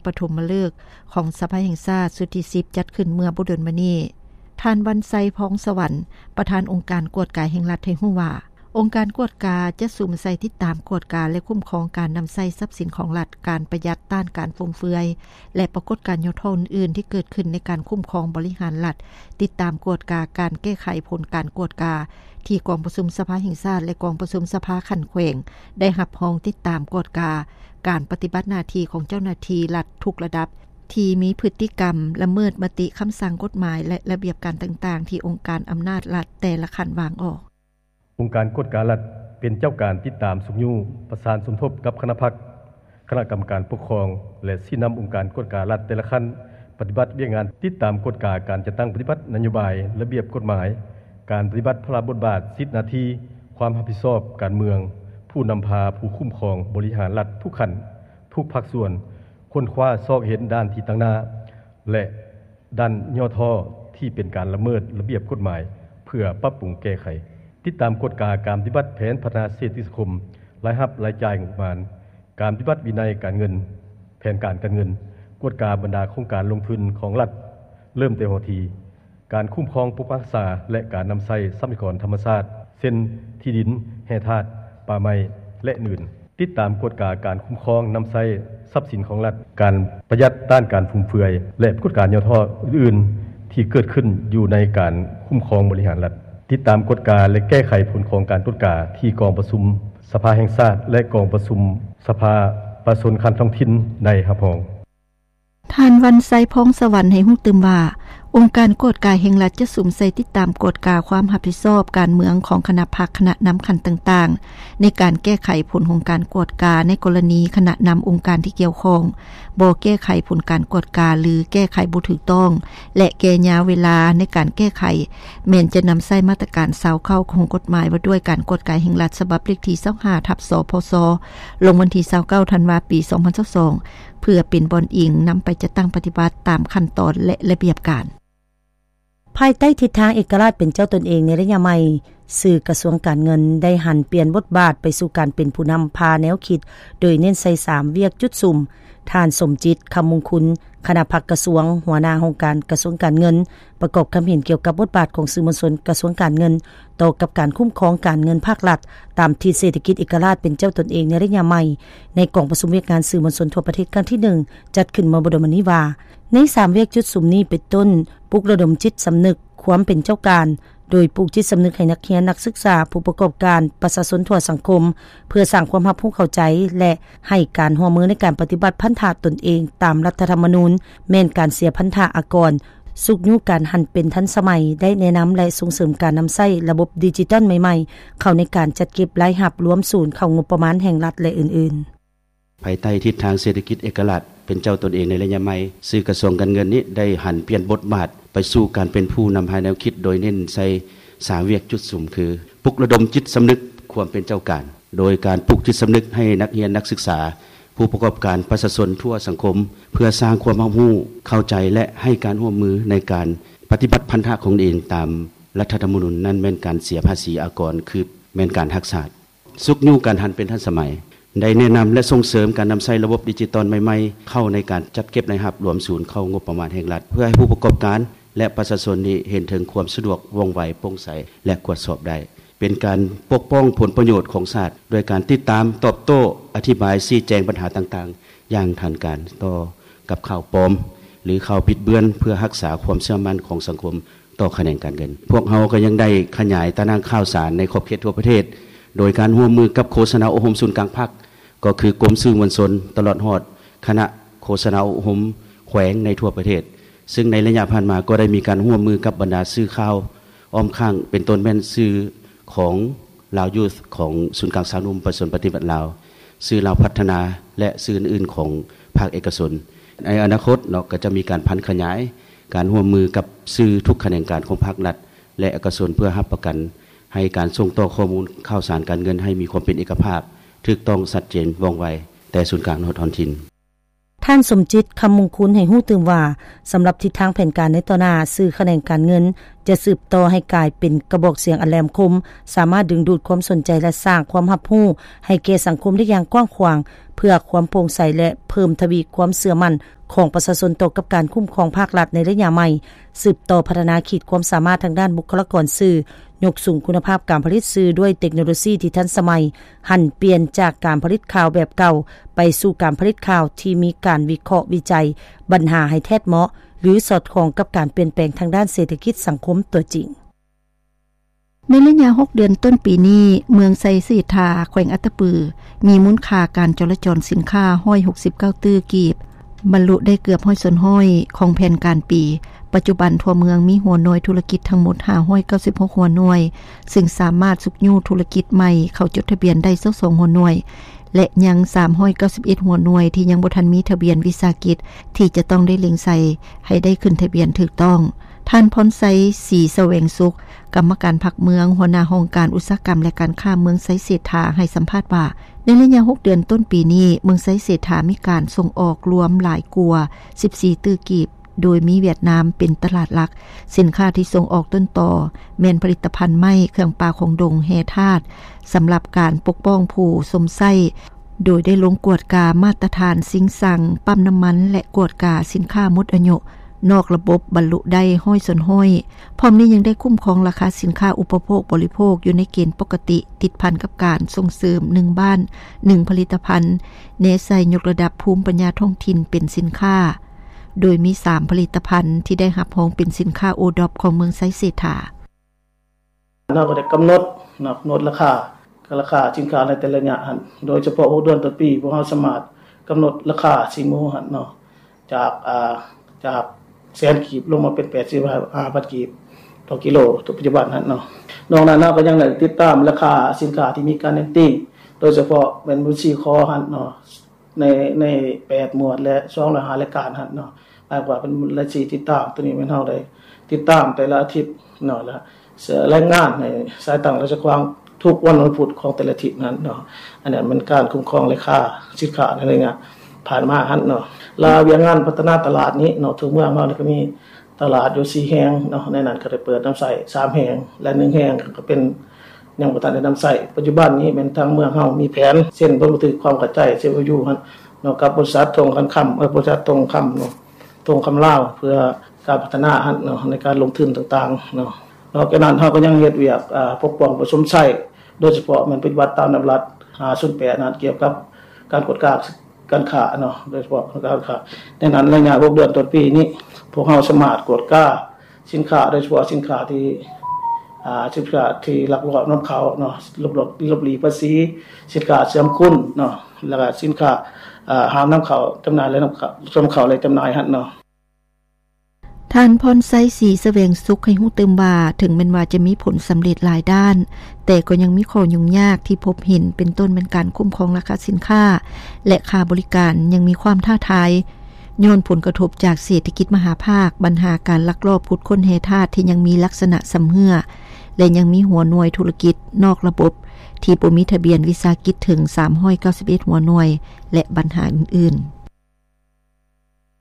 ປະຖົມມະເລີກຂອງສະພາແຫ່ງຊາດຊຸດທີສິບ ຈັດຂຶ້ນເມື່ອບໍ່ດົນມານີ້. ທ່ານ ວັນໄຊ ພອງສະຫວັນ ປະທານອົງການກວດກາແຫ່ງລັດ ໃຫ້ຮູ້ວ່າ ອົງການກວດກາຈະສຸມໃສ່ຕິດຕາມກວດກາ ແລະ ຄຸ້ມຄອງການນຳໃຊ້ຊັບສິນຂອງລັດ, ການປະຢັດ, ຕ້ານການຟຸມເຟືອຍ ແລະ ປາກົດການຫຍໍ້ທໍ້ອື່ນໆ ທີ່ເກີດຂຶ້ນໃນການຄຸ້ມຄອງບໍລິຫານລັດ, ຕິດຕາມກວດກາການແກ້ໄຂຜົນການກວດກາ ທີ່ກອງປະຊຸມສະພາແຫ່ງຊາດ ແລະ ກອງປະຊຸມສະພາຂັ້ນແຂວງ ໄດ້ຮັບຮອງຕິດຕາມກວດກາການປະຕິບັດໜ້າທີ່ຂອງເຈົ້າໜ້າທີ່ລັດທຸກລະດັບ ທີ່ມີພຶດຕິກຳລະເມີດມະຕິ, ຄຳສັ່ງ, ກົດໝາຍ ແລະ ລະບຽບການຕ່າງໆ ທີ່ອົງການອຳນາດລັດແຕ່ລະຂັ້ນວາງອອກ. ອົງການກວດກາລັດເປັນເຈົ້າການຕິດຕາມຊຸກຍູ້, ປະສານສົມທົບກັບຄະນະພັກ, ຄະນະກຳມະການປົກຄອງ ແລະ ຊີ້ນຳອົງການກວດກາລັດແຕ່ລະຂັ້ນ ປະຕິບັດວຽກງານຕິດຕາມກວດກາການຈັດຕັ້ງປະຕິບັດນະໂຍບາຍ, ລະບຽບກົດໝາຍ, ການປະຕິບັດພາລະບົດບາດ, ສິດໜ້າທີ່, ຄວາມຮັບຜິດຊອບການເມືອງ, ຜູ້ນຳພາ, ຜູ້ຄຸ້ມຄອງບໍລິຫານລັດທຸກຂັ້ນ, ທຸກພາກສ່ວນ, ຄົ້ນຄວ້າຊອກເຫັນດ້ານທີ່ຕັ້ງໜ້າ ແລະ ດ້ານຫຍໍ້ທໍ້ທີ່ເປັນການລະເມີດລະບຽບກົດໝາຍ ເພື່ອປັບປຸງແກ້ໄຂ, ຕິດຕາມກວດກາການປະຕິບັດແຜນພັດທະນາເສດຖະກິດສັງຄົມ, ລາຍຮັບລາຍຈ່າຍງົບປະມານ, ການປະຕິບັດວິໄນການເງິນ, ແຜນການການເງິນ, ກວດກາບັນດາໂຄງການລົງທຶນຂອງລັດ ເລີ່ມແຕ່ຫົວທີ, ການຄຸ້ມຄອງປົກປັກຮັກສາ ແລະ ການນຳໃຊ້ຊັບພະຍາກອນທຳມະຊາດ ເຊັ່ນ ທີ່ດິນ, ແຮ່ທາດ, ປ່າໄມ້ ແລະ ອື່ນ. ຕິດຕາມກວດກາການຄຸ້ມຄອງນຳໃຊ້ຊັບສິນຂອງລັດ, ການປະຢັດ, ຕ້ານການຟຸມເຟືອຍ ແລະ ກວດກາຫຍໍ້ທໍ້ອື່ນໆ ທີ່ເກີດຂຶ້ນຢູ່ໃນການຄຸ້ມຄອງບໍລິຫານລັດ. ຕິດຕາມກວດກາ ແລະ ແກ້ໄຂຜົນຂອງການກວດກາທີ່ກອງປະຊຸມສະພາແຫ່ງຊາດ ແລະ ກອງປະຊຸມສະພາປະຊາຊົນຂັ້ນທ້ອງຖິ່ນໄດ້ຮັບຮອງ. ທ່ານ ວັນໄຊ ພອງສະຫວັນ ໃຫ້ຮູ້ຕື່ມວ່າ ອົງການກວດກາແຫ່ງລັດຈະສຸມໃສ່ຕິດຕາມກວດກາຄວາມຮັບຜິດຊອບການເມືອງຂອງຄະນະພັກ, ຄະນະນຳຂັ້ນຕ່າງໆ ໃນການແກ້ໄຂຜົນຂອງການກວດກາ ໃນກໍລະນີຄະນະນຳອົງການທີ່ກ່ຽວຂ້ອງບໍ່ແກ້ໄຂຜົນການກວດກາ ຫຼື ແກ້ໄຂບໍ່ຖືກຕ້ອງ ແລະ ແກ່ຍາວເວລາໃນການແກ້ໄຂ ແມ່ນຈະນຳໃຊ້ມາດຕະການຊາວເກົ້າຂອງກົດໝາຍວ່າດ້ວຍການກວດກາແຫ່ງລັດ ສະບັບເລກທີຊາວຫ້າ ທັບ ສພຊ ລົງວັນທີຊາວເກົ້າ ທັນວາ ປີສອງພັນຊາວສອງ ເພື່ອເປັນບ່ອນອີງນຳໄປຈັດຕັ້ງປະຕິບັດຕາມຂັ້ນຕອນ ແລະ ລະບຽບການ. ພາຍໃຕ້ທິດທາງເອກະລາດເປັນເຈົ້າຕົນເອງໃນໄລຍະໃໝ່, ສື່ກະຊວງການເງິນໄດ້ຫັນປ່ຽນບົດບາດໄປສູ່ການເປັນຜູ້ນຳພາແນວຄິດ, ໂດຍເນັ້ນໃສ່ສາມວຽກຈຸດສຸມ. ທ່ານ ສົມຈິດ ຄຳມຸງຄຸນ ຄະນະພັກກະຊວງ, ຫົວໜ້າຫ້ອງການກະຊວງການເງິນ, ປະກອບຄຳເຫັນກ່ຽວກັບບົດບາດຂອງສື່ມວນຊົນກະຊວງການເງິນ ຕໍ່ກັບການຄຸ້ມຄອງການເງິນພາກລັດ ຕາມທິດເສດຖະກິດເອກະລາດເປັນເຈົ້າຕົນເອງໃນໄລຍະໃໝ່ ໃນກອງປະຊຸມວຽກງານສື່ມວນຊົນທົ່ວປະເທດຄັ້ງທີໜຶ່ງ ຈັດຂຶ້ນເມື່ອບໍ່ດົນມານີ້ວ່າ ໃນສາມວຽກຈຸດສຸມນີ້ເປັນຕົ້ນ ປຸກລະດົມຈິດສຳນຶກຄວາມເປັນເຈົ້າການ, ໂດຍປູກຈິດສຳນຶກໃຫ້ນັກຮຽນ, ນັກສຶກສາ, ຜູ້ປະກອບການ, ປະຊາຊົນທົ່ວສັງຄົມ ເພື່ອສ້າງຄວາມຮັບຮູ້ເຂົ້າໃຈ ແລະ ໃຫ້ການຮ່ວມມືໃນການປະຕິບັດພັນທະຕົນເອງຕາມລັດຖະທຳມະນູນ ແມ່ນການເສຍພັນທະອາກອນ, ຊຸກຍູ້ການຫັນເປັນທັນສະໄໝ, ໄດ້ແນະນຳ ແລະ ສົ່ງເສີມການນຳໃຊ້ລະບົບດິຈິຕອນໃໝ່ໆ ເຂົ້າໃນການຈັດເກັບລາຍຮັບລວມສູນເຂົ້າງົບປະມານແຫ່ງລັດ ແລະ ອື່ນໆ. ພາຍໃຕ້ທິດທາງເສດຖະກິດເອກະລາດເປັນເຈົ້າຕົນເອງໃນໄລຍະໃໝ່, ສື່ກະຊວງການເງິນນີ້ໄດ້ຫັນປ່ຽນບົດບາດໄປສູ່ການເປັນຜູ້ນຳພາແນວຄິດ ໂດຍເນັ້ນໃສ່ສາມວຽກຈຸດສຸມ ຄື ປຸກລະດົມຈິດສຳນຶກຄວາມເປັນເຈົ້າການ ໂດຍການປູກຈິດສຳນຶກໃຫ້ນັກຮຽນ, ນັກສຶກສາ, ຜູ້ປະກອບການ, ປະຊາຊົນທົ່ວສັງຄົມ ເພື່ອສ້າງຄວາມຮັບຮູ້ເຂົ້າໃຈ ແລະ ໃຫ້ການຮ່ວມມືໃນການປະຕິບັດພັນທະຂອງຕົນເອງຕາມລັດຖະທຳມະນູນ ນັ້ນແມ່ນການເສຍພາສີອາກອນ ຄືແມ່ນການຮັກຊາດ. ຊຸກຍູ້ການຫັນເປັນທັນສະໄໝ, ໄດ້ແນະນຳ ແລະ ສົ່ງເສີມການນຳໃຊ້ລະບົບດິຈິຕອນໃໝ່ໆ ເຂົ້າໃນການຈັດເກັບລາຍຮັບລວມສູນເຂົ້າງົບປະມານແຫ່ງລັດ ເພື່ອໃຫ້ຜູ້ປະກອບການ ແລະ ປະຊາຊົນນີ້ເຫັນເຖິງຄວາມສະດວກ, ວ່ອງໄວ, ໂປ່ງໃສ ແລະ ກວດສອບໄດ້. ເປັນການປົກປ້ອງຜົນປະໂຫຍດຂອງຊາດ ດ້ວຍການຕິດຕາມ, ຕອບໂຕ້, ອະທິບາຍ, ຊີ້ແຈງບັນຫາຕ່າງໆ ຢ່າງທັນການຕໍ່ກັບຂ່າວປອມ ຫຼື ຂ່າວບິດເບືອນ ເພື່ອຮັກສາຄວາມເຊື່ອໝັ້ນຂອງສັງຄົມ ຕໍ່ຂະແໜງການເງິນ. ພວກເຮົາກໍຍັງໄດ້ຂະຫຍາຍຕາໜ່າງຂ່າວສານໃນຂອບເຂດທົ່ວປະເທດ ໂດຍການຮ່ວມມືກັບໂຄສະນາອົບຮົມສູນກາງພັກ ກໍຄືກົມສື່ມວນຊົນ ຕະຫຼອດຮອດຄະນະໂຄສະນາອົບຮົມແຂວງໃນທົ່ວປະເທດ, ຊຶ່ງໃນໄລຍະຜ່ານມາກໍໄດ້ມີການຮ່ວມມືກັບບັນດາສື່ຂ່າວອ້ອມຂ້າງ ເປັນຕົ້ນແມ່ນສື່ຂອງ Lao Youth ຂອງສູນກາງຊາວໜຸ່ມປະຊາຊົນປະຕິວັດລາວ, ສື່ລາວພັດທະນາ ແລະ ສື່ອື່ນໆຂອງພາກເອກະຊົນ. ໃນອະນາຄົດເນາະ ກໍຈະມີການຜັນຂະຫຍາຍ ການຮ່ວມມືກັບສື່ທຸກຂະແໜງການຂອງພາກລັດ ແລະ ເອກະຊົນ ເພື່ອຮັບປະກັນໃຫ້ການສົ່ງຕໍ່ຂໍ້ມູນຂ່າວສານການເງິນໃຫ້ມີຄວາມເປັນເອກະພາບ, ຖືກຕ້ອງ, ຊັດເຈນ, ວ່ອງໄວ ແຕ່ສູນກາງຮອດທ້ອງຖິ່ນ. ທ່ານ ສົມຈິດ ຄຳມຸງຄຸນ ໃຫ້ຮູ້ຕື່ມວ່າ ສຳລັບທິດທາງແຜນການໃນຕໍ່ໜ້າ, ສື່ຂະແໜງການເງິນ ຈະສືບຕໍ່ໃຫ້ກາຍເປັນກະບອກສຽງອັນແຫຼມຄົມ, ສາມາດດຶງດູດຄວາມສົນໃຈ ແລະ ສ້າງຄວາມຮັບຮູ້ໃຫ້ແກ່ສັງຄົມໄດ້ຢ່າງກວ້າງຂວາງ, ເພື່ອຄວາມໂປ່ງໃສ ແລະ ເພີ່ມທະວີຄວາມເຊື່ອໝັ້ນຂອງປະຊາຊົນຕໍ່ກັບການຄຸ້ມຄອງພາກລັດໃນໄລຍະໃໝ່, ສືບຕໍ່ພັດທະນາຂີດຄວາມສາມາດທາງດ້ານບຸກຄະລາກອນສື່, ຍົກສູງຄຸນນະພາບການຜະລິດສື່ດ້ວຍເຕັກໂນໂລຊີທີ່ທັນສະໄໝ, ຫັນປ່ຽນຈາກການຜະລິດຂ່າວແບບເກົ່າ ໄປສູ່ການຜະລິດຂ່າວທີ່ມີການວິເຄາະວິໄຈບັນຫາໃຫ້ແທດເໝາະ ຫຼື ສອດຄ່ອງກັບການປ່ຽນແປງທາງດ້ານເສດຖະກິດສັງຄົມຕົວຈິງ. ໃນໄລຍະຫົກເດືອນຕົ້ນປີນີ້, ເມືອງໄຊເສດຖາ ແຂວງອັດຕະປື ມີມູນຄ່າການຈໍລະຈອນສິນຄ້າຮ້ອຍຫົກສິບເກົ້າຕື້ກີບ, ບັນລຸໄດ້ເກືອບຮ້ອຍສ່ວນຮ້ອຍຂອງແຜນການປີ. ປັດຈຸບັນທົ່ວເມືອງມີຫົວໜ່ວຍທຸລະກິດທັງໝົດຫ້າຮ້ອຍເກົ້າສິບຫົກຫົວໜ່ວຍ, ຊຶ່ງສາມາດຊຸກຍູ້ທຸລະກິດໃໝ່ເຂົ້າຈົດທະບຽນໄດ້ຊາວສອງຫົວໜ່ວຍ ແລະ ຍັງສາມຮ້ອຍເກົ້າສິບເອັດຫົວໜ່ວຍທີ່ຍັງບໍ່ທັນມີທະບຽນວິສາຫະກິດ ທີ່ຈະຕ້ອງໄດ້ເລັ່ງໃສ່ໃຫ້ໄດ້ຂຶ້ນທະບຽນຖືກຕ້ອງ. ທ່ານ ພອນໄຊ ສີສະແຫວງສຸກ ກຳມະການພັກເມືອງ, ຫົວໜ້າຫ້ອງການອຸດສາຫະກຳ ແລະ ການຄ້າເມືອງໄຊເສດຖາ ໃຫ້ສຳພາດວ່າ, ໃນໄລຍະຫົກເດືອນຕົ້ນປີນີ້, ເມືອງໄຊເສດຖາມີການສົ່ງອອກລວມຫຼາຍກວ່າສິບສີ່ຕື້ກີບ, ໂດຍມີຫວຽດນາມເປັນຕະຫຼາດຫຼັກ. ສິນຄ້າທີ່ສົ່ງອອກຕົ້ນຕໍແມ່ນຜະລິດຕະພັນໄມ້, ເຄື່ອງປ່າຂອງດົງ, ແຮ່ທາດ ສຳລັບການປົກປ້ອງຜູ້ຊົມໃຊ້, ໂດຍໄດ້ລົງກວດກາມາດຕະຖານຊິງຊັງ, ປ້ຳນ້ຳມັນ ແລະ ກວດກາສິນຄ້າໝົດອາຍຸນອກລະບົບ ບັນລຸໄດ້ຮ້ອຍສ່ວນຮ້ອຍ. ພ້ອມນີ້ຍັງໄດ້ຄຸ້ມຄອງລາຄາສິນຄ້າອຸປະໂພກບໍລິໂພກຢູ່ໃນເກນປົກກະຕິ, ຕິດພັນກັບການສົ່ງເສີມໜຶ່ງບ້ານໜຶ່ງຜະລິດຕະພັນ, ແນໃສ່ຍົກລະດັບພູມປັນຍາທ້ອງຖິ່ນເປັນສິນຄ້າ, ໂດຍມີສາມຜະລິດຕະພັນທີ່ໄດ້ຮັບຮອງເປັນສິນຄ້າໂອດອບຂອງເມືອງໄຊເສດຖາ. ເຮົາກໍໄດ້ກຳນົດເນາະ ກຳນົດລາຄາ ລາຄາສິນຄ້າໃນແຕ່ລະໄລຍະຫັ້ນ ໂດຍສະເພາະຫົກເດືອນຕົ້ນປີ ພວກເຮົາສາມາດກຳນົດລາຄາຊີ້ໝູຫັ້ນເນາະ ຈາກ ອ່າ ຈາກແສນກີບລົງມາເປັນແປດສິບຫ້າພັນກີບຕໍ່ກິໂລ ປັດຈຸບັນຫັ້ນເນາະ. ນອກນັ້ນເຮົາກໍຍັງໄດ້ຕິດຕາມລາຄາສິນຄ້າທີ່ມີການເນັ້ນຕີງ ໂດຍສະເພາະແມ່ນບັນຊີຂໍຫັ້ນເນາະ ໃນ ໃນແປດໝວດ ແລະ ສອງຮ້ອຍຫ້າລາຍການຫັ້ນເນາະ ໝາຍຄວາມວ່າເປັນລາຍຊື່ຕິດຕາມ. ໂຕນີ້ແມ່ນເຮົາໄດ້ຕິດຕາມແຕ່ລະອາທິດເນາະ ແລະ ລາຍງານໃຫ້ສາຍຕັ້ງລາຊະກວາງທຸກວັນວັນພຸດຂອງແຕ່ລະອາທິດນັ້ນເນາະ. ອັນນັ້ນແມ່ນການຄຸ້ມຄອງລາຄາສິນຄ້າໃນໄລຍະຜ່ານມາຫັ້ນເນາະ. ລະວຽກງານພັດທະນາຕະຫຼາດນີ້ເນາະ ທົ່ວເມືອງເຮົານີ້ກໍມີຕະຫຼາດຢູ່ສີ່ແຫ່ງເນາະ, ໃນນັ້ນກໍໄດ້ເປີດນຳໃຊ້ສາມແຫ່ງ ແລະ ໜຶ່ງແຫ່ງກໍເປັນ ຍັງບໍ່ທັນໄດ້ນຳໃຊ້. ປັດຈຸບັນນີ້ແມ່ນທາງເມືອງເຮົາມີແຜນເຊັນບົດບັນທຶກຄວາມເຂົ້າໃຈ ເຊັນ ເອັມ ໂອ ຢູ ຫັ້ນເນາະ ກັບບໍລິສັດທົ່ງຄຳ ເອີ ບໍລິສັດທົ່ງຄຳເນາະ ທົ່ງຄຳລາວ ເພື່ອການພັດທະນາຫັ້ນເນາະ ໃນການລົງທຶນຕ່າງໆເນາະ. ນອກຈາກນັ້ນເຮົາກໍຍັງເຮັດວຽກ ອ່າ ປົກປ້ອງປະຊົມໃຊ້ ໂດຍສະເພາະແມ່ນປະຕິບັດຕາມນຳລັດຫ້າສູນແປດນັ້ນ ກ່ຽວກັບການກວດກາ ການຄ້າເນາະ ໂດຍສະເພາະການຄ້າ. ໃນນັ້ນໄລຍະຫົກເດືອນຕົ້ນປີນີ້ ພວກເຮົາສາມາດກວດກາສິນຄ້າ ໂດຍສະເພາະສິນຄ້າທີ່ ອ່າ ສິນຄ້າທີ່ລັກລອບນຳເຂົ້າເນາະ ຫຼົບ ຫຼົບ ຫຼົບຫຼີກພາສີ, ສິນຄ້າເຊື່ອມຄຸນເນາະ ແລ້ວກໍສິນຄ້າ ອ່າ ຫ້າມນຳເຂົ້າຈຳໜ່າຍ ແລະ ນຳເຂົ້າ ນຳເຂົ້າ ແລະ ຈຳໜ່າຍຫັ້ນເນາະ. ທ່ານ ພອນໄຊ ສີສະແຫວງສຸກ ໃຫ້ຮູ້ຕື່ມວ່າ ເຖິງແມ່ນວ່າຈະມີຜົນສຳເລັດຫຼາຍດ້ານ, ແຕ່ກໍຍັງມີຂໍ້ຫຍຸ້ງຍາກທີ່ພົບເຫັນ ເປັນຕົ້ນແມ່ນການຄຸ້ມຄອງລາຄາສິນຄ້າ ແລະ ຄ່າບໍລິການຍັງມີຄວາມທ້າທາຍ ຍ້ອນຜົນກະທົບຈາກເສດຖະກິດມະຫາພາກ, ບັນຫາການລັກລອບຂຸດຄົ້ນແຮ່ທາດທີ່ຍັງມີລັກສະນະຊຳເຮື້ອ ແລະ ຍັງມີຫົວໜ່ວຍທຸລະກິດນອກລະບົບທີ່ບໍ່ມີທະບຽນວິສາຫະກິດເຖິງສາມຮ້ອຍເກົ້າສິບເອັດຫົວໜ່ວຍ ແລະ ບັນຫາອື່ນໆ.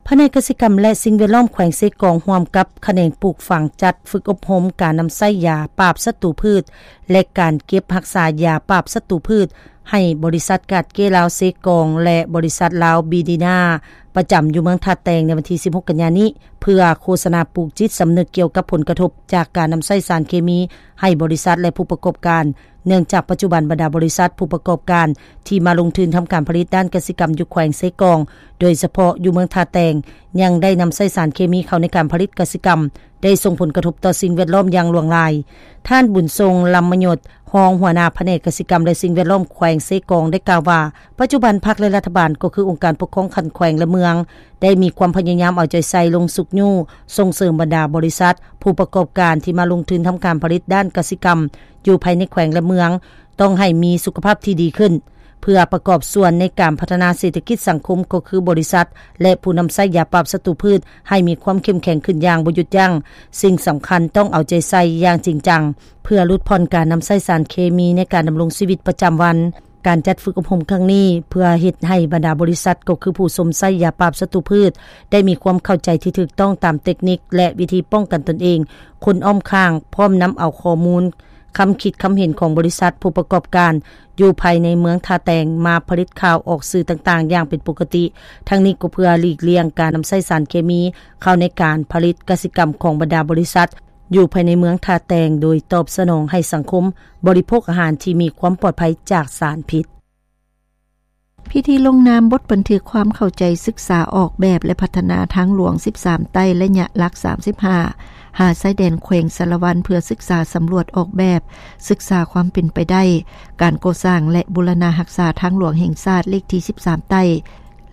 ພະແນກກະສິກຳ ແລະ ສິ່ງແວດລ້ອມແຂວງເຊກອງ ຮ່ວມກັບຂະແໜງປູກຝັງ ຈັດຝຶກອົບຮົມການນຳໃຊ້ຢາປາບສັດຕູພືດ ແລະ ການເກັບຮັກສາຢາປາບສັດຕູພືດ ໃຫ້ບໍລິສັດກາດເກລາວເຊກອງ ແລະ ບໍລິສັດລາວບີດີນາ ປະຈຳຢູ່ເມືອງທ່າແຕງ ໃນວັນທີສິບຫົກກັນຍານີ້ ເພື່ອໂຄສະນາປູກຈິດສຳນຶກກ່ຽວກັບຜົນກະທົບຈາກການນຳໃຊ້ສານເຄມີໃຫ້ບໍລິສັດ ແລະ ຜູ້ປະກອບການ. ເນື່ອງຈາກປັດຈຸບັນບັນດາບໍລິສັດຜູ້ປະກອບການທີ່ມາລົງທຶນທຳການຜະລິດດ້ານກະສິກຳຢູ່ແຂວງເຊກອງ ໂດຍສະເພາະຢູ່ເມືອງທ່າແຕງ ຍັງໄດ້ນຳໃຊ້ສານເຄມີເຂົ້າໃນການຜະລິດກະສິກຳ ໄດ້ສົ່ງຜົນກະທົບຕໍ່ສິ່ງແວດລ້ອມຢ່າງຫຼວງຫຼາຍ. ທ່ານ ບຸນຊົງ ລຳມະຍົດ ຮອງຫົວໜ້າພະແນກກະສິກຳ ແລະ ສິ່ງແວດລ້ອມແຂວງເຊກອງ ໄດ້ກ່າວວ່າ ປັດຈຸບັນພັກ ແລະ ລັດຖະບານ ກໍຄືອົງການປົກຄອງຂັ້ນແຂວງ ແລະ ເມືອງ ໄດ້ມີຄວາມພະຍາຍາມເອົາໃຈໃສ່ລົງຊຸກຍູ້ສົ່ງເສີມບັນດາບໍລິສັດ ຜູ້ປະກອບການທີ່ມາລົງທຶນທຳການຜະລິດດ້ານກະສິກຳ ຢູ່ພາຍໃນແຂວງ ແລະ ເມືອງ ຕ້ອງໃຫ້ມີສຸຂະພາບທີ່ດີຂຶ້ນ ເພື່ອປະກອບສ່ວນໃນການພັດທະນາເສດຖະກິດສັງຄົມ ກໍຄືບໍລິສັດ ແລະ ຜູ້ນຳໃຊ້ຢາປາບສັດຕູພືດ ໃຫ້ມີຄວາມເຂັ້ມແຂງຂຶ້ນຢ່າງບໍ່ຢຸດຢັ້ງ. ສິ່ງສຳຄັນຕ້ອງເອົາໃຈໃສ່ຢ່າງຈິງຈັງ ເພື່ອຫຼຸດຜ່ອນການນຳໃຊ້ສານເຄມີໃນການດຳລົງຊີວິດປະຈຳວັນ. ການຈັດຝຶກອົບຮົມຄັ້ງນີ້ ເພື່ອເຮັດໃຫ້ບັນດາບໍລິສັດ ກໍຄືຜູ້ຊົມໃຊ້ຢາປາບສັດຕູພືດ ໄດ້ມີຄວາມເຂົ້າໃຈທີ່ຖືກຕ້ອງຕາມເຕັກນິກ ແລະ ວິທີປ້ອງກັນຕົນເອງ, ຄົນອ້ອມຂ້າງ, ພ້ອມນຳເອົາຂໍ້ມູນ, ຄຳຄິດຄຳເຫັນຂອງບໍລິສັດ, ຜູ້ປະກອບການ ຢູ່ພາຍໃນເມືອງທ່າແຕງ ມາຜະລິດຂ່າວອອກສື່ຕ່າງໆຢ່າງເປັນປົກກະຕິ. ທັງນີ້ກໍເພື່ອຫຼີກລ່ຽງການນຳໃຊ້ສານເຄມີເຂົ້າໃນການຜະລິດກະສິກຳຂອງບັນດາບໍລິສັດ ຢູ່ພາຍໃນເມືອງທ່າແຕງ ໂດຍຕອບສະໜອງໃຫ້ສັງຄົມບໍລິໂພກອາຫານທີ່ມີຄວາມປອດໄພຈາກສານພິດ. ພິທີລົງນາມບົດບັນທຶກຄວາມເຂົ້າໃຈສຶກສາອອກແບບ ແລະ ພັດທະນາທາງຫຼວງສິບສາມໃຕ້ ໄລຍະຫຼັກສາມສິບຫ້າ ຫາຊາຍແດນແຂວງສາລະວັນ ເພື່ອສຶກສາສຳຫຼວດອອກແບບ, ສຶກສາຄວາມເປັນໄປໄດ້ ການກໍ່ສ້າງ ແລະ ບູລະນະຮັກສາທາງຫຼວງແຫ່ງຊາດເລກທີສິບສາມໃຕ້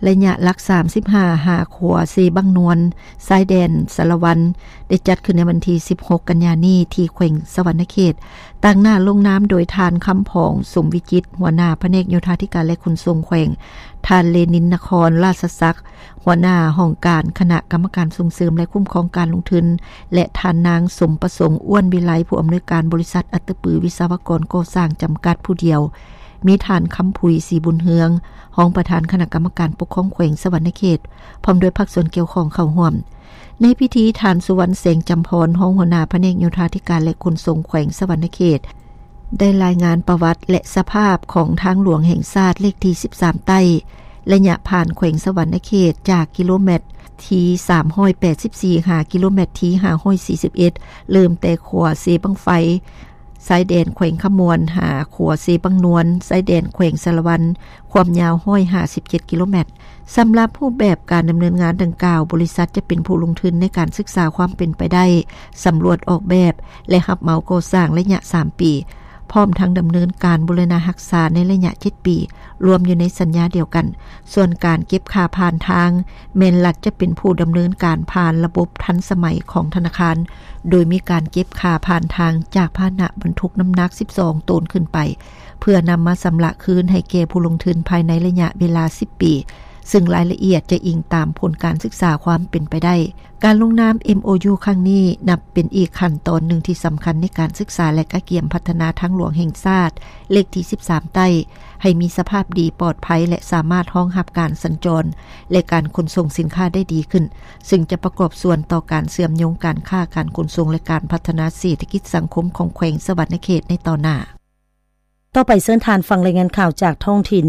ໄລຍະຫຼັກສາມສິບຫ້າ ຫາຂົວເຊບັ້ງນວນ ຊາຍແດນສາລະວັນ ໄດ້ຈັດຂຶ້ນໃນວັນທີສິບຫົກ ກັນຍານີ້ ທີ່ແຂວງສະຫວັນນະເຂດ. ຕາງໜ້າລົງນາມໂດຍທ່ານ ຄຳຜອງ ສົມວິຈິດ ຫົວໜ້າພະແນກໂຍທາທິການ ແລະ ຂົນສົ່ງແຂວງ, ທ່ານ ເລນິນ ນະຄອນລາຊະສັກ ຫົວໜ້າຫ້ອງການຄະນະກຳມະການສົ່ງເສີມ ແລະ ຄຸ້ມຄອງການລົງທຶນ ແລະ ທ່ານນາງ ສົມປະສົງ ອ້ວນວິໄລ ຜູ້ອຳນວຍການບໍລິສັດອັດຕະປືວິສະວະກອນກໍ່ສ້າງຈຳກັດຜູ້ດຽວ, ມີທ່ານ ຄຳຜຸຍ ສີບຸນເຮືອງ ຮອງປະທານຄະນະກຳມະການປົກຄອງແຂວງສະຫວັນນະເຂດ ພ້ອມດ້ວຍພາກສ່ວນກ່ຽວຂ້ອງເຂົ້າຮ່ວມ. ໃນພິທີ ທ່ານ ສຸວັນ ແສງຈຳພອນ ຮອງຫົວໜ້າພະແນກໂຍທາທິການ ແລະ ຂົນສົ່ງແຂວງສະຫວັນນະເຂດ ໄດ້ລາຍງານປະຫວັດ ແລະ ສະພາບຂອງທາງຫຼວງແຫ່ງຊາດເລກທີສິບສາມໃຕ້ ໄລຍະຜ່ານແຂວງສະຫວັນນະເຂດ ຈາກກິໂລແມັດທີສາມຮ້ອຍແປດສິບສີ່ ຫາກິໂລແມັດທີຫ້າຮ້ອຍສີ່ສິບເອັດ ເລີ່ມແຕ່ຂົວເຊບັ້ງໄຟ ຊາຍແດນແຂວງຄຳມ່ວນ ຫາຂົວເຊບັ້ງນວນ ຊາຍແດນແຂວງສາລະວັນ ຄວາມຍາວຮ້ອຍຫ້າສິບເຈັດກິໂລແມັດ. ສຳລັບຮູບແບບການດຳເນີນງານດັ່ງກ່າວ, ບໍລິສັດຈະເປັນຜູ້ລົງທຶນໃນການສຶກສາຄວາມເປັນໄປໄດ້, ສຳຫຼວດອອກແບບ ແລະ ຮັບເໝົາກໍ່ສ້າງໄລຍະສາມປີ, ພ້ອມທັງດຳເນີນການບູລະນະຮັກສາໃນໄລຍະເຈັດປີ, ລວມຢູ່ໃນສັນຍາດຽວກັນ. ສ່ວນການເກັບຄ່າຜ່ານທາງ ແມ່ນລັດຈະເປັນຜູ້ດຳເນີນການຜ່ານລະບົບທັນສະໄໝຂອງທະນາຄານ, ໂດຍມີການເກັບຄ່າຜ່ານທາງຈາກພາຫະນະບັນທຸກນ້ຳໜັກສິບສອງໂຕນຂຶ້ນໄປ, ເພື່ອນຳມາຊຳລະຄືນໃຫ້ແກ່ຜູ້ລົງທຶນພາຍໃນໄລຍະເວລາສິບປີ, ຊຶ່ງລາຍລະອຽດຈະອີງຕາມຜົນການສຶກສາຄວາມເປັນໄປໄດ້. ການລົງນາມ ເອັມໂອຢູ ຄັ້ງນີ້ ນັບເປັນອີກຂັ້ນຕອນໜຶ່ງທີ່ສຳຄັນໃນການສຶກສາ ແລະ ກະກຽມພັດທະນາທາງຫຼວງແຫ່ງຊາດ ເລກທີສິບສາມໃຕ້ ໃຫ້ມີສະພາບດີ, ປອດໄພ ແລະ ສາມາດຮອງຮັບການສັນຈອນ ແລະ ການຂົນສົ່ງສິນຄ້າໄດ້ດີຂຶ້ນ, ຊຶ່ງຈະປະກອບສ່ວນຕໍ່ການເຊື່ອມໂຍງການຄ້າ, ການຂົນສົ່ງ ແລະ ການພັດທະນາເສດຖະກິດສັງຄົມຂອງແຂວງສະຫວັນນະເຂດໃນຕໍ່ໜ້າ. ຕໍ່ໄປເຊີນທ່ານຟັງລາຍງານຂ່າວຈາກທ້ອງຖິ່ນ.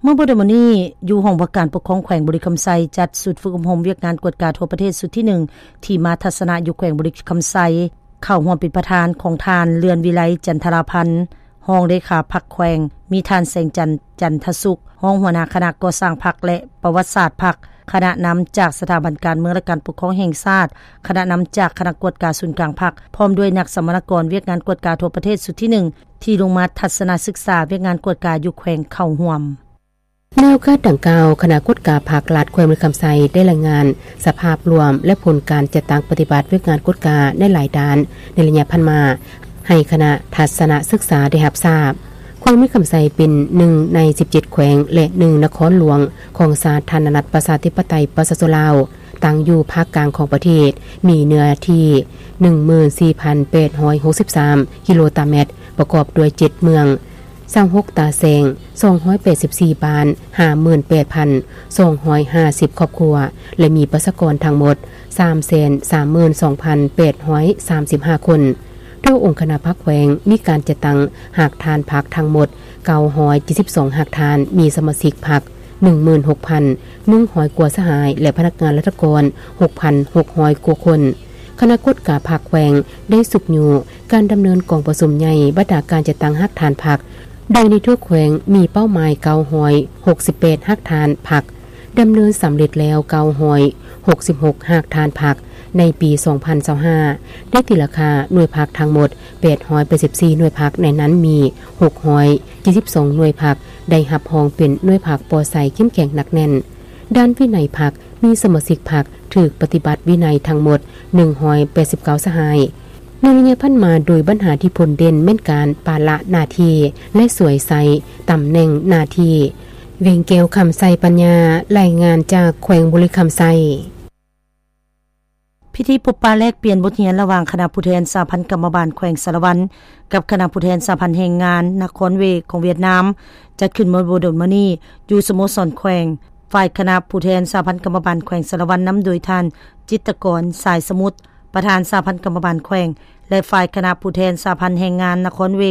ເມື່ອບໍ່ດົນມານີ້, ຢູ່ຫ້ອງວ່າການປົກຄອງແຂວງບໍລິຄຳໄຊ ຈັດຊຸດຝຶກອົບຮົມວຽກງານກວດກາທົ່ວປະເທດຊຸດທີໜຶ່ງ ທີ່ມາທັດສະນະຢູ່ແຂວງບໍລິຄຳໄຊ, ເຂົ້າຮ່ວມເປັນປະທານຂອງທ່ານ ເລື່ອນວິໄລ ຈັນທະລາພັນ ຮອງເລຂາພັກແຂວງ, ມີທ່ານ ແສງຈັນ ຈັນທະສຸກ ຮອງຫົວໜ້າຄະນະກໍ່ສ້າງພັກ ແລະ ປະຫວັດສາດພັກ, ຄະນະນຳຈາກສະຖາບັນການເມືອງ ແລະ ການປົກຄອງແຫ່ງຊາດ, ຄະນະນຳຈາກຄະນະກວດກາສູນກາງພັກ, ພ້ອມດ້ວຍນັກສຳມະນາກອນວຽກງານກວດກາທົ່ວປະເທດຊຸດທີໜຶ່ງ ທີ່ລົງມາທັດສະນະສຶກສາວຽກງານກວດກາຢູ່ແຂວງເຂົ້າຮ່ວມ. ໃນໂອກາດດັ່ງກ່າວ, ຄະນະກວດກາພັກລັດແຂວງບໍລິຄຳໄຊ ໄດ້ລາຍງານສະພາບລວມ ແລະ ຜົນການຈັດຕັ້ງປະຕິບັດວຽກງານກວດກາໃນຫຼາຍດ້ານໃນໄລຍະຜ່ານມາ ໃຫ້ຄະນະທັດສະນະສຶກສາໄດ້ຮັບຊາບ. ແຂວງບໍລິຄຳໄຊເປັນໜຶ່ງໃນສິບເຈັດແຂວງ ແລະ ໜຶ່ງນະຄອນຫຼວງຂອງສາທາລະນະລັດປະຊາທິປະໄຕປະຊາຊົນລາວ, ຕັ້ງຢູ່ພາກກາງຂອງປະເທດ, ມີເນື້ອທີ່ໜຶ່ງໝື່ນສີ່ພັນແປດຮ້ອຍຫົກສິບສາມກິໂລຕາແມັດ, ປະກອບດ້ວຍເຈັດເມືອງ, ຊາວຫົກຕາແສງ, ສອງຮ້ອຍແປດສິບສີ່ບ້ານ, ຫ້າໝື່ນແປດພັນສອງຮ້ອຍຫ້າສິບຄອບຄົວ ແລະ ມີປະຊາກອນທັງໝົດສາມແສນສາມໝື່ນສອງພັນແປດຮ້ອຍສາມສິບຫ້າຄົນ. ໂດຍອົງຄະນະພັກແຂວງມີການຈັດຕັ້ງຮາກຖານພັກທັງໝົດເກົ້າຮ້ອຍເຈັດສິບສອງຮາກຖານ, ມີສະມາຊິກພັກໜຶ່ງໝື່ນຫົກພັນໜຶ່ງຮ້ອຍກວ່າສະຫາຍ ແລະ ພະນັກງານລັດຖະກອນຫົກພັນຫົກຮ້ອຍກວ່າຄົນ. ຄະນະກວດກາພັກແຂວງໄດ້ຊຸກຍູ້ການດຳເນີນກອງປະຊຸມໃຫຍ່ບັນດາການຈັດຕັ້ງຮາກຖານພັກ, ໂດຍໃນທົ່ວແຂວງມີເປົ້າໝາຍເກົ້າຮ້ອຍຫົກສິບແປດຮາກຖານພັກ, ດຳເນີນສຳເລັດແລ້ວເກົ້າຮ້ອຍຫົກສິບຫົກຮາກຖານພັກໃນປີສອງພັນຊາວຫ້າ, ໄດ້ຕີລາຄາໜ່ວຍພັກທັງໝົດແປດຮ້ອຍແປດສິບສີ່ໜ່ວຍພັກ, ໃນນັ້ນມີຫົກຮ້ອຍເຈັດສິບສອງໜ່ວຍພັກໄດ້ຮັບຮອງເປັນໜ່ວຍພັກປອດໃສ ເຂັ້ມແຂງ ໜັກແໜ້ນ. ດ້ານວິໄນພັກ ມີສະມາຊິກພັກຖືກປະຕິບັດວິໄນທັງໝົດໜຶ່ງຮ້ອຍແປດສິບເກົ້າສະຫາຍ. ໃນໄລຍະຜ່ານມາ, ໂດຍບັນຫາທີ່ພົ້ນເດັ່ນແມ່ນການປະລະໜ້າທີ່ ແລະ ສວຍໃຊ້ຕຳແໜ່ງໜ້າທີ່. ວຽງແກ້ວ ຄຳໄຊປັນຍາ, ລາຍງານຈາກແຂວງບໍລິຄຳໄຊ. ເພ ພິທີພົບປະແລກປ່ຽນບົດຮຽນລະຫວ່າງຄະນະຜູ້ແທນສະຫະພັນກຳມະບານແຂວງສາລະວັນ ກັບຄະນະຜູ້ແທນສະຫະພັນແຮງງານນະຄອນເວ ຂອງຫວຽດນາມ ຈັດຂຶ້ນເມື່ອບໍ່ດົນມານີ້ ຢູ່ສະໂມສອນແຂວງ. ຝ່າຍຄະນະຜູ້ແທນສະຫະພັນກຳມະບານແຂວງສາລະວັນ ນຳໂດຍທ່ານ ຈິດຕະກອນ ສາຍສະໝຸດ ປະທານສະຫະພັນກຳມະບານແຂວງ ແລະ ຝ່າຍຄະນະຜູ້ແທນສະຫະພັນແຮງງານນະຄອນເວ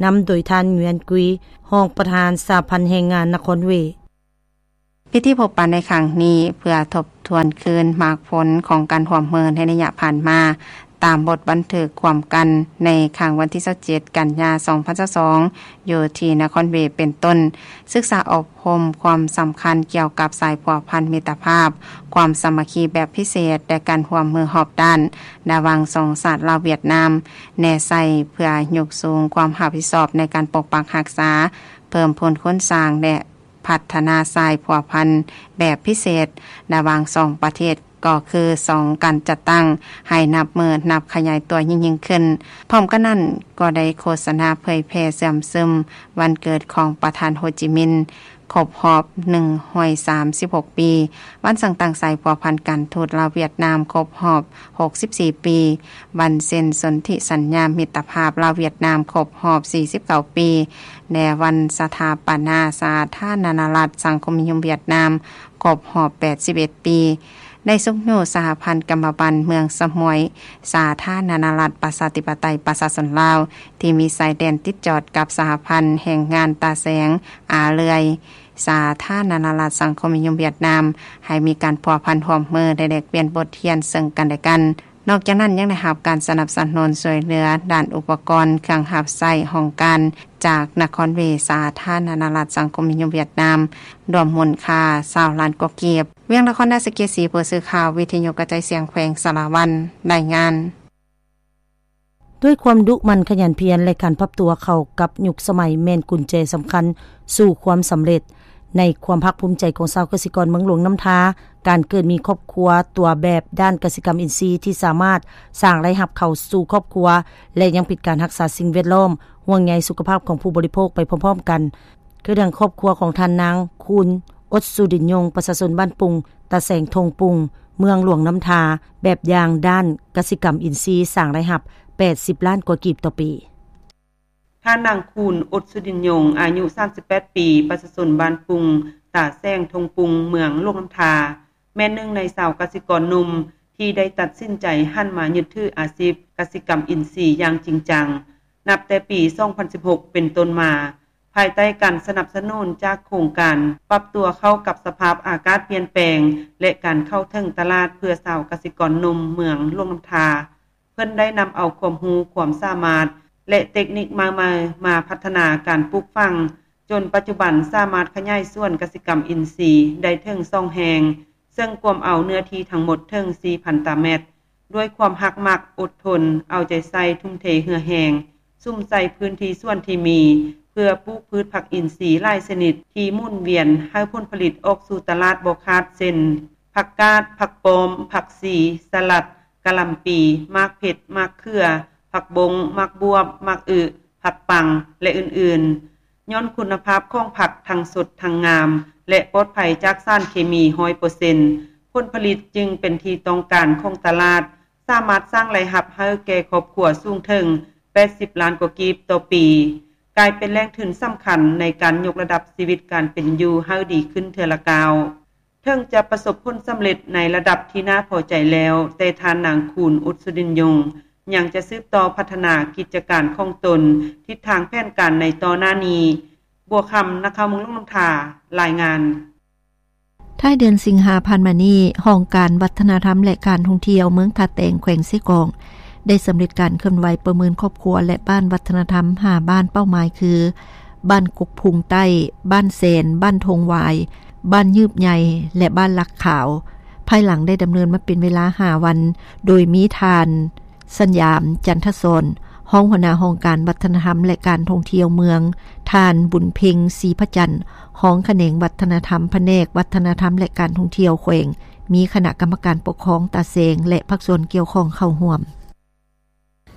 ນຳໂດຍທ່ານ ຫງວຽນກຸຍ ຮອງປະທານສະຫະພັນແຮງງານນະຄອນເວ. ພິທີພົບປະໃນຄັ້ງນີ້ ເພື່ອທົບທວນຄືນໝາກຜົນຂອງການຮ່ວມມືໃນໄລຍະຜ່ານມາ, ຕາມບົດບັນທຶກຮ່ວມກັນໃນຄັ້ງວັນທີຊາວເຈັດ ກັນຍາ ສອງພັນຊາວສອງ ຢູ່ທີ່ນະຄອນເວ ເປັນຕົ້ນ ສຶກສາອົບຮົມຄວາມສຳຄັນກ່ຽວກັບສາຍພົວພັນມິດຕະພາບ, ຄວາມສາມັກຄີແບບພິເສດ ແລະ ການຮ່ວມມືຮອບດ້ານ ລະຫວ່າງສອງຊາດລາວ-ຫວຽດນາມ ແນໃສ່ເພື່ອຍົກສູງຄວາມຮັບຜິດຊອບໃນການປົກປັກຮັກສາ, ເພີ່ມພູນຄູນສ້າງ ແລະ ພັດທະນາສາຍພົວພັນແບບພິເສດລະຫວ່າງສອງປະເທດ ກໍຄືສອງການຈັດຕັ້ງ ໃຫ້ນັບມື້ນັບຂະຫຍາຍຕົວຍິ່ງໆຂຶ້ນ. ພ້ອມກັນນັ້ນ ກໍໄດ້ໂຄສະນາເຜີຍແຜ່ເຊື່ອມຊຶມວັນເກີດຂອງປະທານໂຮຈິມິນ ຄົບຮອບໜຶ່ງຮ້ອຍສາມສິບຫົກປີ, ວັນສ້າງຕັ້ງສາຍພົວພັນການທູດລາວ-ຫວຽດນາມຄົບຮອບຫົກສິບສີ່ປີ, ວັນເຊັນສົນທິສັນຍາມິດຕະພາບລາວ-ຫວຽດນາມຄົບຮອບສີ່ສິບເກົ້າປີ ແລະ ວັນສະຖາປະນາສາທາລະນະລັດສັງຄົມນິຍົມຫວຽດນາມຄົບຮອບແປດສິບເອັດປີ. ໄດ້ຊຸກຍູ້ສະຫະພັນກຳມະບັນເມືອງສະໝວຍ ສາທາລະນະລັດປະຊາທິປະໄຕປະຊາຊົນລາວ ທີ່ມີຊາຍແດນຕິດຈອດກັບສະຫະພັນແຮງງານຕາແສງ ອາເລື່ອຍ ສາທາລະນະລັດສັງຄົມນິຍົມຫວຽດນາມ ໃຫ້ມີການພົວພັນຮ່ວມມື ແລະ ແລກປ່ຽນບົດຮຽນເຊິ່ງກັນແລະກັນ. ນອກຈາກນັ້ນ ຍັງໄດ້ຮັບການສະໜັບສະໜູນຊ່ວຍເຫຼືອດ້ານອຸປະກອນເຄື່ອງຮັບໃຊ້ຫ້ອງການ ຈາກນະຄອນເວ ສາທາລະນະລັດສັງຄົມນິຍົມຫວຽດນາມ ລວມມູນຄ່າຊາວລ້ານກວ່າກີບ. ວຽງນະຄອນນະຄອນສະເກດສີ, ຜູ້ສື່ຂ່າວວິທະຍຸກະຈາຍສຽງແຂວງສາລະວັນ ລາຍງານ. ດ້ວຍຄວາມດຸໝັ່ນຂະຫຍັນພຽນ ແລະ ການປັບຕົວເຂົ້າກັບຍຸກສະໄໝ ແມ່ນກຸນແຈສຳຄັນສູ່ຄວາມສຳເລັດ. ໃນຄວາມພາກພູມໃຈຂອງຊາວກະສິກອນເມືອງຫຼວງນ້ຳທາ, ການເກີດມີຄອບຄົວຕົວແບບດ້ານກະສິກຳອິນຊີທີ່ສາມາດສ້າງລາຍຮັບເຂົ້າສູ່ຄອບຄົວ ແລະ ຍັງເປັນການຮັກສາສິ່ງແວດລ້ອມ, ຫ່ວງໃຍສຸຂະພາບຂອງຜູ້ບໍລິໂພກໄປພ້ອມໆກັນ. ຄືດັ່ງຄອບຄົວຂອງທ່ານນາງ ຄູນ ອົດສຸດິນຍົງ ປະຊາຊົນບ້ານປຸງ ຕາແສງທົ່ງປຸງ ເມືອງຫຼວງນ້ຳທາ, ແບບຢ່າງດ້ານກະສິກຳອິນຊີສ້າງລາຍຮັບແປດສິບລ້ານກວ່າກີບຕໍ່ປີ. ທ່ານນາງ ຄູນ ອົດສຸດິນຍົງ ອາຍຸສາມສິບແປດປີ, ປະຊາຊົນບ້ານປຸງ ຕາແສງທົ່ງປຸງ ເມືອງຫຼວງນ້ຳທາ, ແມ່ນໜຶ່ງໃນຊາວກະສິກອນໜຸ່ມທີ່ໄດ້ຕັດສິນໃຈຫັນມາຍຶດຖືອາຊີບກະສິກຳອິນຊີຢ່າງຈິງຈັງ ນັບແຕ່ປີສອງພັນສິບຫົກເປັນຕົ້ນມາ, ພາຍໃຕ້ການສະໜັບສະໜູນຈາກໂຄງການປັບຕົວເຂົ້າກັບສະພາບອາກາດປ່ຽນແປງ ແລະ ການເຂົ້າເຖິງຕະຫຼາດເພື່ອຊາວກະສິກອນໜຸ່ມເມືອງຫຼວງນ້ຳທາ. ເພິ່ນໄດ້ນຳເອົາຄວາມຮູ້ຄວາມສາມາດ ແລະ ເຕັກນິກໃໝ່ໆມາພັດທະນາການປູກຝັງ, ຈົນປັດຈຸບັນສາມາດຂະຫຍາຍສວນກະສິກຳອິນຊີໄດ້ເຖິງສອງແຫ່ງ, ເຊິ່ງກວມເອົາເນື້ອທີ່ທັງໝົດເຖິງສີ່ພັນຕາແມັດ. ດ້ວຍຄວາມຮັກມັກ, ອົດທົນ, ເອົາໃຈໃສ່, ທຸ່ມເທເຫື່ອແຮງ, ສຸມໃສ່ພື້ນທີ່ສວນທີ່ມີ ເພື່ອປູກພືດຜັກອິນຊີຫຼາຍຊະນິດທີ່ໝູນວຽນໃຫ້ຜົນຜະລິດອອກສູ່ຕະຫຼາດບໍ່ຂາດ ເຊັ່ນ ຜັກກາດ, ຜັກປ້ອມ, ຜັກຊີ, ສະຫຼັດ, ກະຫຼ່ຳປີ, ໝາກເຜັດ, ໝາກເຂືອ, ຜັກບົ້ງ, ໝາກບວບ, ໝາກອຶ, ຜັກປັງ ແລະ ອື່ນໆ. ຍ້ອນຄຸນນະພາບຂອງຜັກທັງສົດທັງງາມ ແລະ ປອດໄພຈາກສານເຄມີຮ້ອຍເປີເຊັນ, ຜົນຜະລິດຈຶ່ງເປັນທີ່ຕ້ອງການຂອງຕະຫຼາດ, ສາມາດສ້າງລາຍຮັບໃຫ້ແກ່ຄອບຄົວສູງເຖິງແປດສິບລ້ານກວ່າກີບຕໍ່ປີ, ກາຍເປັນແຫຼ່ງທຶນສຳຄັນໃນການຍົກລະດັບຊີວິດການເປັນຢູ່ໃຫ້ດີຂຶ້ນເທື່ອລະກ້າວ. ເຖິງຈະປະສົບຜົນສຳເລັດໃນລະດັບທີ່ໜ້າພໍໃຈແລ້ວ, ແຕ່ທ່ານນາງ ຄູນ ອຸດສຸດິນຍົງ ຍັງຈະສືບຕໍ່ພັດທະນາກິດຈະການຂອງຕົນ, ທິດທາງແຜນການໃນຕໍ່ໜ້ານີ້. ບົວຄຳ ນັກຂ່າວເມືອງຫຼວງນ້ຳທາ ລາຍງານ. ທ້າຍເດືອນສິງຫາຜ່ານມານີ້, ຫ້ອງການວັດທະນະທຳ ແລະ ການທ່ອງທ່ຽວເມືອງທ່າແຕງ ແຂວງເຊກອງ ໄດ້ສຳເລັດການເຄື່ອນໄຫວປະເມີນຄອບຄົວ ແລະ ບ້ານວັດທະນະທຳຫ້າບ້ານເປົ້າໝາຍຄື ບ້ານກົກພຸງໃຕ້, ບ້ານແສນ, ບ້ານທົ່ງຫວາຍ, ບ້ານຍືບໃຫຍ່ ແລະ ບ້ານຫຼັກຂາວ, ພາຍຫຼັງໄດ້ດຳເນີນມາເປັນເວລາຫ້າວັນ, ໂດຍມີທ່ານ ສັນຍາມ ຈັນທະສອນ ຮອງຫົວໜ້າຫ້ອງການວັດທະນະທຳ ແລະ ການທ່ອງທ່ຽວເມືອງ, ທ່ານ ບຸນເພັງ ສີພະຈັນ ຮອງຂະແໜງວັດທະນະທຳ ພະແນກວັດທະນະທຳ ແລະ ການທ່ອງທ່ຽວແຂວງ, ມີຄະນະກຳມະການປົກຄອງຕາແສງ ແລະ ພາກສ່ວນກ່ຽວຂ້ອງເຂົ້າຮ່ວມ.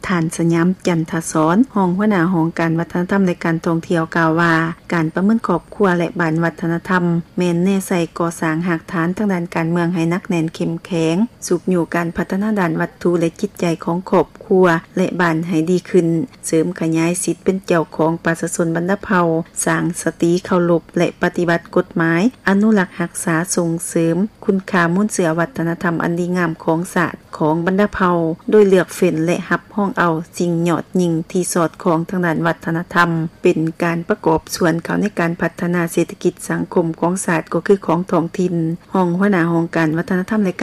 ທ່ານ ສຍາມ ຈັນທະສອນ ຮອງຫົວໜ້າຫ້ອງການວັດທະນະທຳ ແລະ ການທ່ອງທ່ຽວ ກ່າວວ່າ ການປະເມີນຄອບຄົວ ແລະ ບ້ານວັດທະນະທຳ ແມ່ນແນໃສ່ກໍ່ສ້າງຮາກຖານທາງດ້ານການເມືອງໃຫ້ໜັກແໜ້ນເຂັ້ມແຂງ, ຊຸກຍູ້ການພັດທະນາດ້ານວັດຖຸ ແລະ ຈິດໃຈຂອງຄອບຄົວ ແລະ ບ້ານໃຫ້ດີຂຶ້ນ, ເສີມຂະຫຍາຍສິດເປັນເຈົ້າຂອງປະຊາຊົນບັນດາເຜົ່າ, ສ້າງສະຕິເຄົາລົບ ແລະ ປະຕິບັດກົດໝາຍ, ອະນຸລັກຮັກສາ, ສົ່ງເສີມຄຸນຄ່າມູນເຊື້ອວັດທະນະທຳອັນດີງາມຂອງຊາດ ຂອງບັນດາເຜົ່າ ໂດຍເລືອກເຟ້ນ ແລະ ຮັບຮອງເອົາສິ່ງຍອດຍິ່ງທີ່ສອດຄ່ອງທາງດ້ານວັດທະນະທຳ ເປັນການປະກອບສ່ວນເຂົ້າໃນການພັດທະນາເສດຖະກິດສັງຄົມຂອງຊາດ ກໍຄືຂອງທ້ອງຖິ່ນ. ຮອງຫົວໜ້າຫ້ອງການວັດທະນະທຳ ແລະ